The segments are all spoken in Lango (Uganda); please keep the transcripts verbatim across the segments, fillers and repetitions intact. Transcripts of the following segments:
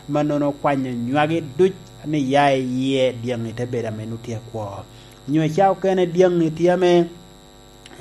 mannono kwanyo nywagi duc ni ya i yie, dyaŋi te bedo ame nwoŋo tye akwo. Nyo i cawa okene dyaŋi tye ame,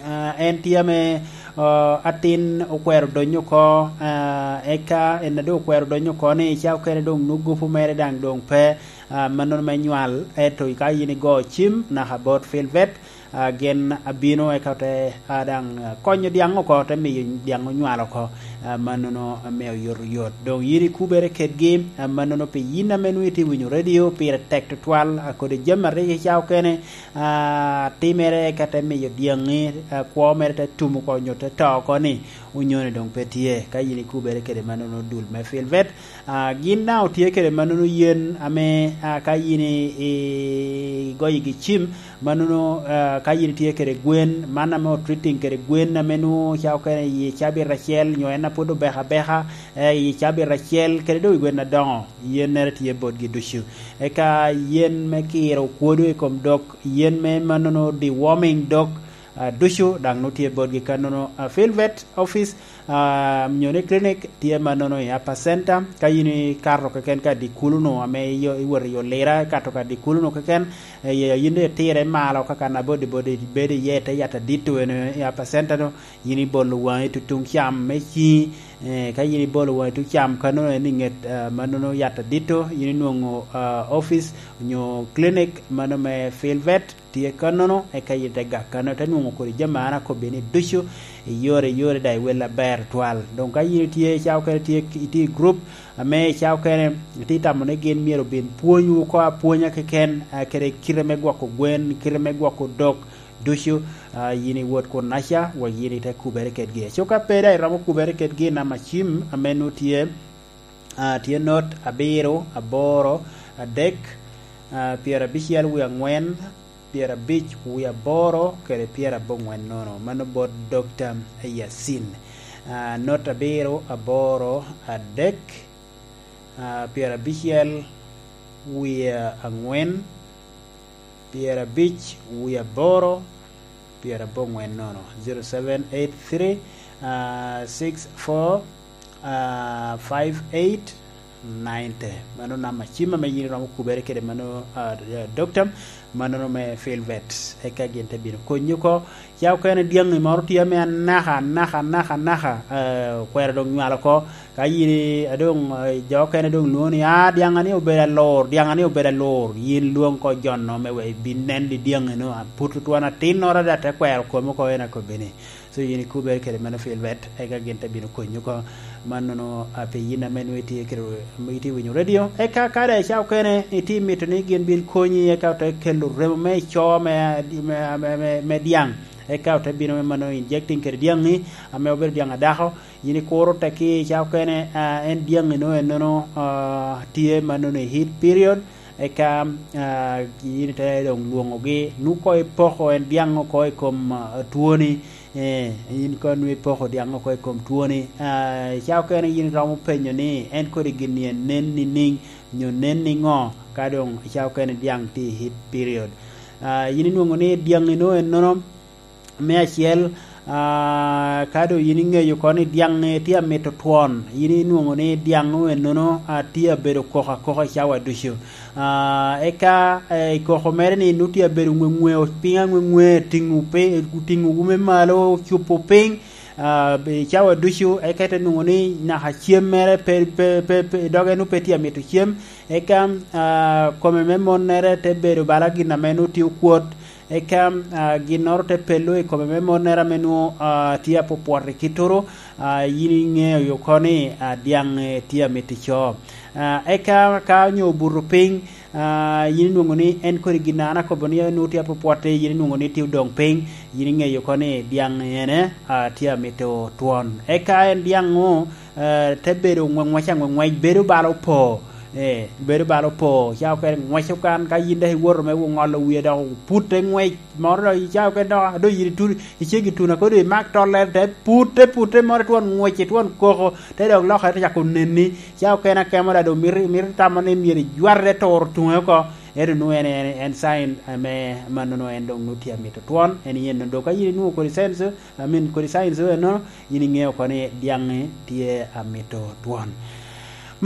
ah, en tye ame, ah, atin okwero donyo oko, ah, eka en a doŋ okwero donyo oko ni i cawa okene doŋ nwoŋo gupu mere daŋ doŋ pe, ah, mannono me nywal, ento ka yin igo cim naka bot Filvet, ah, gin abino eka te, ah, daŋ, ah, konyo dyaŋ oko, te miyo dyaŋ onywal oko, ah, mannono ame oyotoyot. Doŋ yin ikubere kedgi, ah, mannono pi yin ame nwoŋo itye winyo redio, pire tek tutwal, ah, kodi jami a rik i cawa okene, ah, timere eka te miyo dyaŋi, ah, kwo mere te tum oko nyo te to oko ni, onyoni doŋ pe tye. Ka yin ikubere kede mannono dul me Filvet, ah, gin daŋ otye kede mannono yen ame, ah, ka yin i, i, igoyogi cim, mannono, ah, ka yin itye kede gwen, man ame otreating kede gwen ame nwoŋo ca okene i cabit acel, nyo en a pwod obeko abeka, eh, i cabit acel, kede doŋ i gwen adoŋo, yennere tye botgi ducu. Eka yen me kiro okwodo i kom dog, yen me mannono deworming dog, ah, ducu daŋ nwoŋo tye botgi kannono. Ah, Filvet office, ah, nyo ni clinic tye mannono i Upper Center. Ka yin ikato keken ka dikulu-nu ame iyo-, iwot i Olira, ikato ka dikulu-nu keken, eh, yin itire malo ka kan abodibodi bedo iye, te yat adito eno i Upper Center-nu, yin ibolo waŋi tutuŋ cam me ciŋi, eh, ka yin ibolo waŋi tuŋ cam kannono en i ŋet, ah, mannono yat adito, yin inwoŋo, ah, office nyo clinic mano me Filvet. Tye kannono, eka yin te gak kannono, te nwoŋo kodi jami an akobbi ni ducu, iyore, iyore, daŋ iwel aber twal. Doŋ ka yin itye, ca okene tye, itye i gurup, ame ca okene itye tamo ni gin myero obin pwonywu oko apwonya keken, ah, kede kite me gwoko gwen, kite me gwoko dog ducu, ah, yin iwot kunnaca, wek yin ite kubere kedgi. Aco ka pe daŋ iromo kubere kedgi, namba cim ame nwoŋo tye, ah, tye not abiro, aboro, adek, ah, pyerabicel wie aŋwen, pyerabic wie aboro kede pyeraboŋwen nono. Mano bot Dokta Yasin. Ah, not abiro, aboro, adek, ah, pyerabicel wie aŋwen, pyerabic wie aboro, pyeraboŋwen nono, zero seven eight three, ah, six four, ah, five eight ninety. Mano namba cim ame yin iromo kubere kede mano, ah, dokta, mano me Filvet. Eka gin te bino konyi oko. Ca okene dyaŋi moro tye ame anaka, anaka, anaka, anaka, eh, okwero doŋ nywal oko. Ka yin i-, a doŋ, eh, jo okene doŋ lwoŋo ni, "Ah, dyaŋa ni obedo alur, dyaŋa ni obedo alur." Yin lwoŋ ko jo-nu me wek ibin nen i dyaŋi-nu, aput twon atinnoro ada te kwero komi oko, en akobbi ni. So yin ikubere kede mano Filvet, eka gin te bino konyi oko. Mannono, ah, pi yin ame nwoŋo itye kede, itye winyo redio, eka ka daŋ ica okene itye mito ni gin bin konyi, eka ote kelo remo me ico me, me, me, me, me dyaŋ, eka ote bino me mano injecting kede dyaŋi, ame obedo dyaŋ adako, yin ikuro tekki ica okene, ah, en dyaŋi no ennono, ah, tye mannono i heat period, eka, ah, yin ite doŋ lwoŋogi, nwoŋo koŋ ipoko en dyaŋ oko i kom, ah, twoni, eh, yin koŋ nwoŋo ipoko dyaŋ oko i kom twoni. Ah, ica okene yin iromo penyo ni en kodi gin-ni en nen niŋ, nyo nen niŋo, ka doŋ ica okene dyaŋ tye i heat period. Ah, yin inwoŋo ni dyaŋi no ennono, me acel, ah, ka doŋ yin iŋeyo oko ni dyaŋ tye amito twon, yin inwoŋo ni dyaŋ ennono, ah, tye abedo koko akoka i cawa ducu. Ah, eka, eh, i koko mere ni nwoŋo tye abedo ŋweŋweo piny aŋweŋwe, tiŋo pe-, tiŋo ume malo, cupo piny, ah, i cawa ducu, eka ite nwoŋo ni naka cem mere pe, pe, pe, pe, doge nwoŋo pe tye amito cem, eka, ah, kome me monnere te bedo bala gin ame nwoŋo tye okwot, eka, ah, ginnoro te pello i kome me monnere ame nwoŋo, ah, tye apwopwot i kittoro, ah, yin iŋeo oko ni, ah, dyaŋ, eh, tye amito ico. Ah, eka ka onyo obuto piny, ah, yin inwoŋo ni en kodi gin an akobo ni nwoŋo tye apwopwotte, yin inwoŋo ni tye odoŋ piny, yin iŋeyo oko ni dyaŋ ene, ah, tye amito twon. Eka en dyaŋ-ŋu, eh, te bedo ŋweŋwec aŋweŋwec, bedo bala opo. Eh, bedo bala opo, ca okene ŋwec okan, ka yin dok iwoto me ŋolo wie dok oputte ŋwec, moro dok ica okene dok, a, dok yin ituno, icego ituno, kodo imak tollere, te putte, putte moro itwon ŋwec, itwon koko, te dok lokere te cako nenni, ca okene akemo dok mito, mito tamo ni myero ijwate te turo tuŋe oko, ento nwoŋo en, en, en sign ame mannono en dok nwoŋo tye amito twon, en yen dok ka yin inwoŋo kodi signs, I mean, kodi signs eno, yin iŋeo oko ni dyaŋi tye amito twon.